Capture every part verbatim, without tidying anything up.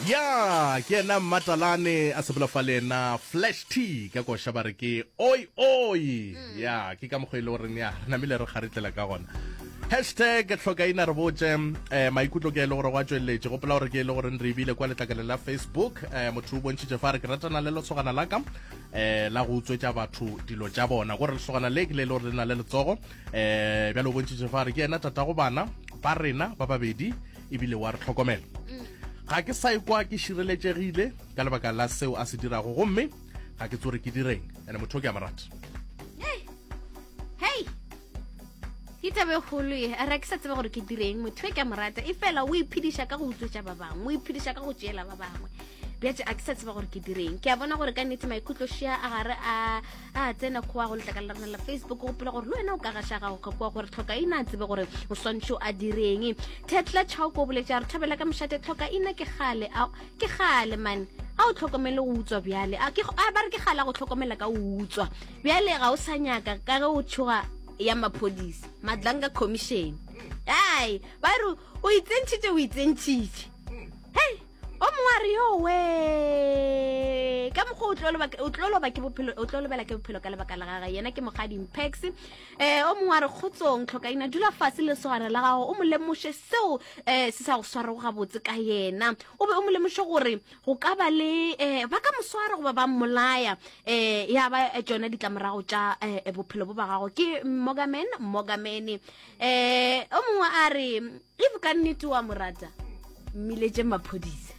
Ya, ke yena Mmatalane a sepela fa le yena Flash T ka koša ba re ke oi oi. Ya, ke ka mokgwa e le goreng ya re namile re kgaritlela ka gona. Hashtag hlokaina re botše eh, maikutlo ke e le gore go a tšweletše. Gopola gore ke e le gore re ebile kwa letlakaleng la Facebook. eh, Motho o bontšhitše fa re ke ratana le lesogana la ka eh, la go utswetša batho dilo tša bona, gore lesogana le ke le e le gore le na le letsogo. eh, Bjale o bontšhitše fa re ke yena tatago bana ba rena ba babedi ebile wa re tlhokomela. Ga ke sa ikwa ke šireletšegile ka lebaka la seo a se dirago, gomme ga ke tsore ke direng, ene motho o ke a mo rata. Hei, ke tabe kgolo ye. A re ke sa tsebe gore ke direng, motho e ke a mo rata, e fela o iphediša ka go utswetša ba bangwe, o iphediša ka go tšeela ba bangwe. Bjatše a ke sa tseba gore ke direng. Ke a bona gore ka nnete maikutlošia a gare a a tsena kgoa go letlakala la rena la Facebook. Gopola gore le wena o ka gaša gago ka kua gore tlhoka ina a tsebe gore o swantšho a direng. Thetla Chauko o boletše a re thabela ka mošate, tlhoka ina ke gale a ke gale man a o tlhokomele go utswa bjale a ke a ba re ke gale a go tlhokomela ka o utswa bjale ga o sa nyaka ka ge o tšhoga ya maphodisa Madlanga Commission. Ai ba re o itsentšhitše, o itsentšhitše. Hei, o mongwe a re yo we ka mokgwa o tlo loba- o tlo loba ke bophelo, o tlo lobela ke bophelo ka lebaka la gage. Yena ke Mokgadi Mpex. um o mongwe a re kgotsong tlhokaina, dula fase le lesogana la gago, o mo lemoše seo um se sa go swarego gabotse ka yena, o be o mo lemoše gore go ka ba le um ba ka mo swara goba ba mmolaya, um ya ba tšona ditlamorago tša um bophelo bo ba gago. Ke Mogaman Mogamene. um o mongwe a re if ka nnete wa mo rata, mmiletše maphodisa.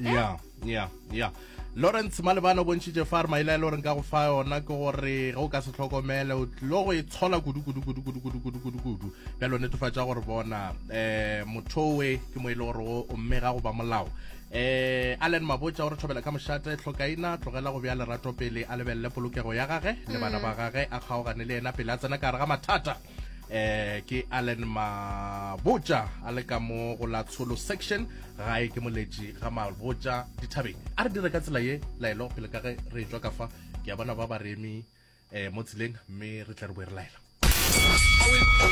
Ya ya ya, Lawrence Malebana o bontšhitše fa re maele a e le gore nka go fa yona ke gore ge o ka se tlhokomele o tlilo go e tshola kudu kudu kudu kudu kudu kudu kudu kudu. Bjalo netefatša gore bona um motho owe ke mo e le gore o mmega go ba molao. um Allen Mabotja o re thobela ka mošate, tlhokaina tlogela go bja lerato pele, a lebelele polokego ya gage le bana ba gage, a kgaogane le yena pele a tsena ka gare ga mathata. eh ke Allen Mabotja a le ka mo go la tsholo section gae ke moletši ga Mabotja dithabeng. A re dire ka tsela ye laelo pele ka ge re tswa ka fa, ke a bona ba ba re eme eh mo tseleng, mme re tle re boe re laela.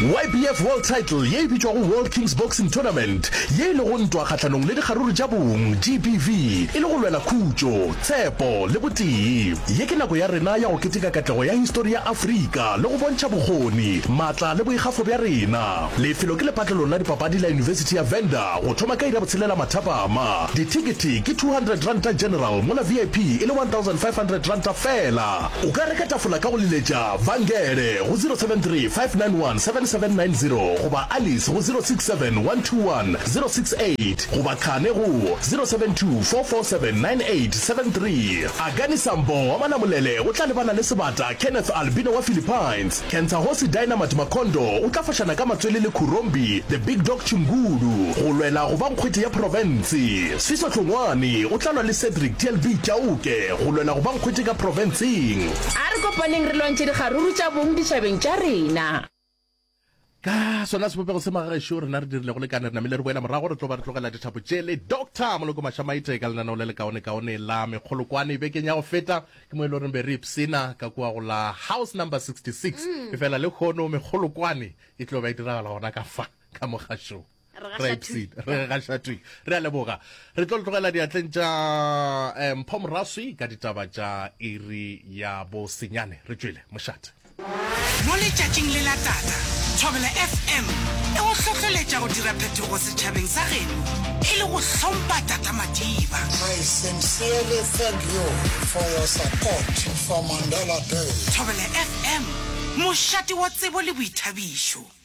Y B F World Title ye e bitšwago World Kings Boxing Tournament, ye e lego ntwa kgahlanong le dikgaruru tša bong G B V, e le go lwela khutšo, tshepo le botee. Ye ke nako ya rena ya go keteka katlego ya histori ya Afrika le go bontšha bokgoni, maatla le boikgafo bja rena. Lefelo ke lepatlelong la dipapadi la University ya Venda go thoma ka iri ya botshelela mathapama. Dithekete ke two hundred ranta general, mola V I P e le one thousand five hundred ranta fela. O ka reka tafola ka go leletša Vangele go zero seven three, five nine one, seven seven nine zero goba Alice go zero six seven, one two one, zero six eight goba Khane go zero seven two, four four seven, nine eight seven three. Akani Sambo wa Manamolele o tla lebana le Sebata Kenneth Albino wa Philippines. Kentsahosi Dynamite Makondo o tla fošana ka matswele le Khurombi The Big Dog Chingulu go lwela go ba nkgwete ya profense. Sfiso Hlongwane o tla lwa le Cedric T L B Chauke go lwela go ba nkgwete ka profenseng. A re kopaneng re lwantšhe dikgaruru tša bong ditšhabeng tša rena. Ka sona sebopego se magagešo rena re dirile go lekane, re namile re boela morago, re tlo ba re tlogela dithapo tše le Doctor Moloko Mašamaite ka lenaneo le lekaonekaone la mekgolokwane. Bekeng ya go feta ke mo e le goreng be re ipsena ka kua go la house number sixty-six, e fela le kgono mekgolokwane e tlo ba e diragala gona ka fa ka mogašong. Re re ipsene re gaša thwi. Re a leboga, re tlo le tlogela diatleng tša eh, Mpho Moraswi ka ditaba tša iri ya bosenyane. Re tšwele mošate. Mo letšatšing le la tata, Thobela F M e go hlohleletša go dira phetogo setšhabeng sa geno e le go hlompha Tata Madiba. I sincerely thank you for your support for Mandela Day. Thobela F M, mošate wa tsebo le boithabišo.